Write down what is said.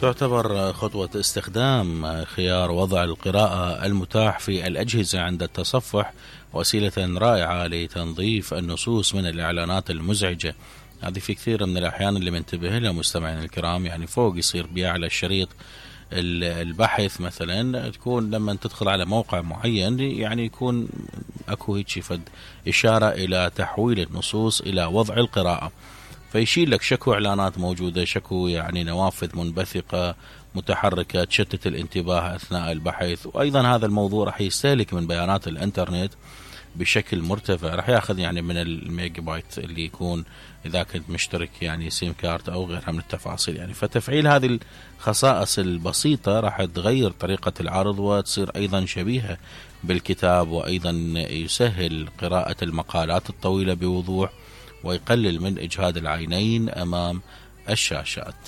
تعتبر خطوة استخدام خيار وضع القراءة المتاح في الأجهزة عند التصفح وسيلة رائعة لتنظيف النصوص من الإعلانات المزعجة. هذه في كثير من الأحيان اللي منتبه لها مستمعين الكرام، يعني فوق يصير بيها على الشريط البحث مثلا، تكون لما تدخل على موقع معين يعني يكون اكو هيك فد إشارة إلى تحويل النصوص إلى وضع القراءة، فيشيل لك شكو إعلانات موجودة، شكو يعني نوافذ منبثقة متحركة تشتت الانتباه أثناء البحث. وأيضا هذا الموضوع راح يستهلك من بيانات الإنترنت بشكل مرتفع، راح ياخذ يعني من الميجا بايت اللي يكون إذا كنت مشترك يعني سيم كارت أو غيرها من التفاصيل. يعني فتفعيل هذه الخصائص البسيطة راح تغير طريقة العرض وتصير أيضا شبيهة بالكتاب، وأيضا يسهل قراءة المقالات الطويلة بوضوح ويقلل من إجهاد العينين أمام الشاشات.